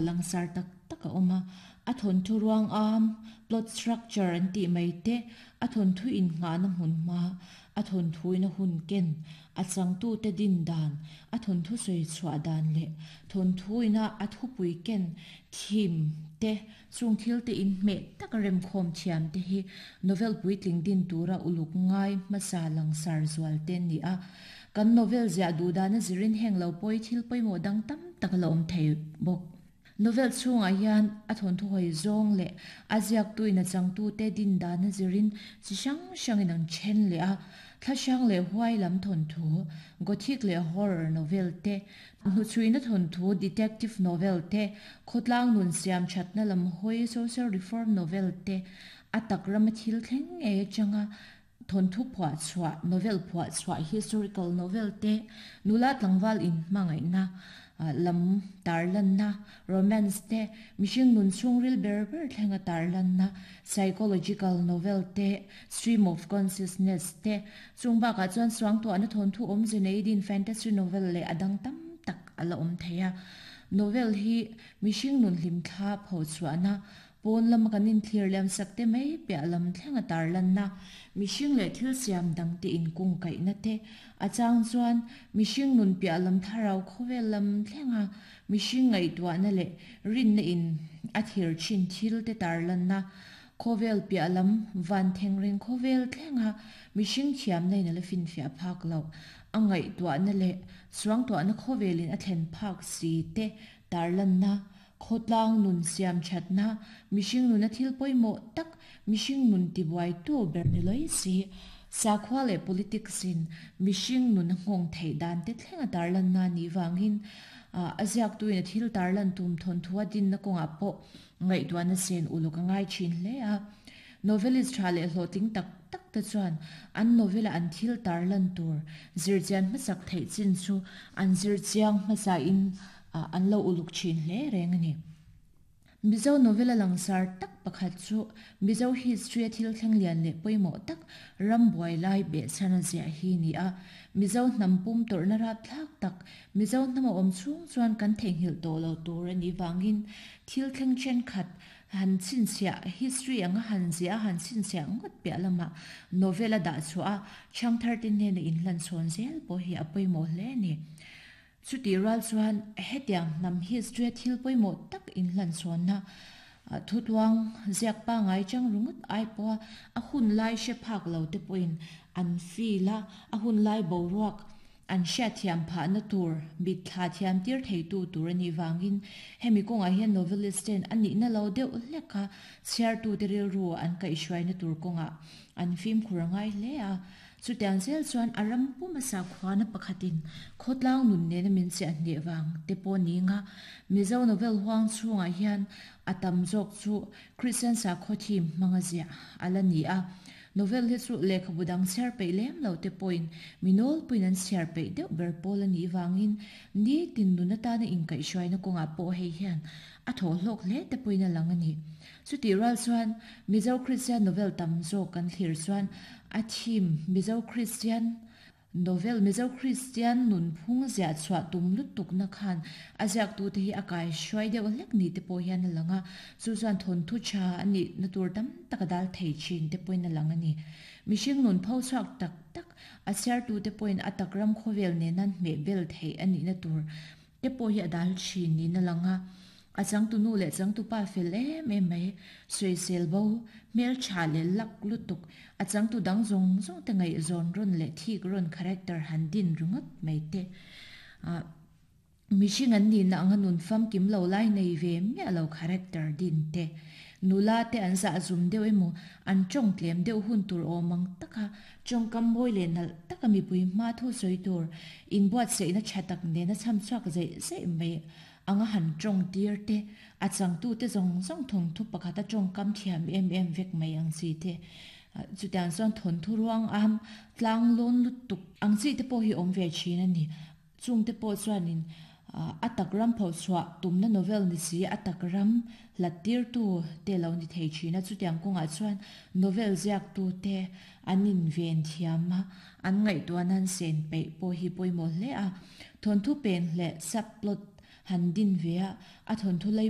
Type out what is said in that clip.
langsar tak tak a awm a, a thawnthu ruang am, plot structure an tih mai te, a thawnthu innghahna hmun hma, a thawnthuin a hun ken, a changtute din dan, a thawnthu sawi chhuah dan leh thawnthuina a thupui ken, theme, te chung thil te inhmeh taka remkhawm thiam te hi novel puitling din tura uluk ngai hmasa langsar zual te an ni a. Kan novel ziah duh dana zirin heng lo pawi thil pawimawh dang tam tak a la awm thei bawk. Novel chhungah hian a thawnthu hawi zawng leh a ziaktuin a changtute din dana zirin chi hrang hrangin an then leh a, thla hrang leh huai lam thawnthu, Gothic leh Horror novel te, hnuchhuina thawnthu, Detective novel te, khawtlang nun siam thatna lam hawi, Social reform novel te, a tak rama thil thleng ngei atanga Thawnthu phuah chhuah, novel phuah chhuah, historical novel te, nula tlangval inhmangaihna lam tarlanna, romance te, mihring nun chhungril ber ber thlenga tarlanna, psychological novel te, stream of consciousness te, chung bakah chuan suangtuahna thawnthu awmze nei din fantasy novel leh a dang tam tak a la awm thei a. Novel hi mihring nun hlimthla phochhuahna Pawn lama kan inthlir liam sak te mai piah lam thlenga tarlanna, mihring leh thil siam dang te inkungkaihna te, a chang chuan mihring nun piah lam thlarau khawvel lam thlenga mihring ngaihtuahna leh rinna in a thlir thin thil te tarlanna, khawvel piah lam van thengreng khawvel thlenga mihring thiamna in a la finfiah phak loh, a ngaihtuahna leh suangtuahna khawvelin a thlen phak si te tarlanna, Khawtlang nun siam thatna, mihring nuna thil pawimawh tak, mihring nun tibuaitu ber ni lawi si, sakhua leh politics in mihring nun a nghawng theih dan te thleng a tarlanna a nih vangin a ziaktuin a thil tarlan tum thawnthu a dinna kawngah pawh ngaihtuahna sen uluk a ngai thin hle a. Novelist tha leh hlawhtling tak tak te chuan an novel-a an thil tarlan tur zirchian hmasak theih chin chu an zirchiang hmasain Ah, an lo uluk thin hle reng a ni. Mizo novel a langsar tak pakhat chu Mizo history a thil thleng lian leh pawimawh tak ram buai lai behchhan a ziah hi ni a. Mizo hnam pum tawrhna rapthlak tak Mizo hnam a awm chhung chuan kan theihnghilh tawh lo tur a nih vangin thil thleng thenkhat han chhinchhiah history anga han ziah a han chhinchhiah ngawt piah lamah novel a dah chhuah a chhangthar te hnena inhlan chhawn zel pawh hi a pawimawh hle a ni. Chutih rual chuan hetiang hnam history a thil pawimawh tak inhlanchhawnna thutuang ziak pangai chang ringawt ai pawha a hun lai hre phak lo te pawhin an feel a, a hun lai boruak an hriatthiam phahna tur mitthla thiam tir theitu tur a nih vangin hemi kawngah hian novelist ten a nihna lo deuh hlek a chhiartute rilru an kaihhruaina tur kawngah an fimkhur a ngai hle a. Chutiang zel chuan a ram pum a sakhuana pakhatin khawtlang nun nena min chiah hneh vang te pawh ni nga Mizo novel huang chhungah hian a tam zawk chu Kristian sakhaw theme hmanga ziah a la ni a. Novel hi chu lehkhabu dang chhiar peih lem lo te pawhin mi nawlpuiin an chhiar peih deuh ber pawl a nih vangin nitin nun atana inkaihhruaina kawngah pawh hei hian a thawh hlawk hle te pawhin a lang a ni. Chutih rual chuan Mizo Kristian novel tam zawk kan thlir chuan a theme Mizo Kristian novel Mizo Kristian nunphung ziah chhuah tum lutukna khan a ziaktute hi a kai hruai deuh hlek ni te pawh hian a lang a, chu chuan thawnthu tha a nihna tur tam tak a dal thei thin te pawhin a lang a ni. Mihring nun pho chhuak tak tak a chhiartute pawhin a tak ram khawvel nena hmeh bel theih a nihna tur te pawh hi a dal thin niin a lang a, a changtu nu leh changtu pa fel em em mai, sawisel bo, hmeltha leh lak lutuk, a changtu dang zawng zawng te ngaihzawn rawn leh thik rawn character han din ringawt mai te ah mihring an nihna anga nun famkim lo lai nei ve miah lo character din te, nula te an zah zum deuh emaw an tawng tlem deuh hun tur awm ang taka Tawngkam mawi leh nalh taka mipui hma thu sawi tur inbuatsaihna tha tak nena chham chhuak zeih zeih mai anga han tawng tir te, a changtute zawng zawng thawnthu pakhata tawngkam thiam em em vek mai ang chi te, chutiang chuan thawnthu ruang am tlang lawn lutuk ang chi te pawh hi awm ve thin a ni. Chungte pawh chuanin a tak ram phochhuah tumna novel ni si a tak ram hlat tirtu te lo ni thei thin a, chutiang kawngah chuan novel ziaktu te an inven thiam a, an ngaihtuahna an sen peih pawh hi pawimawh hle a. Thawnthu pen leh subplot han din ve a, a thawnthu lei.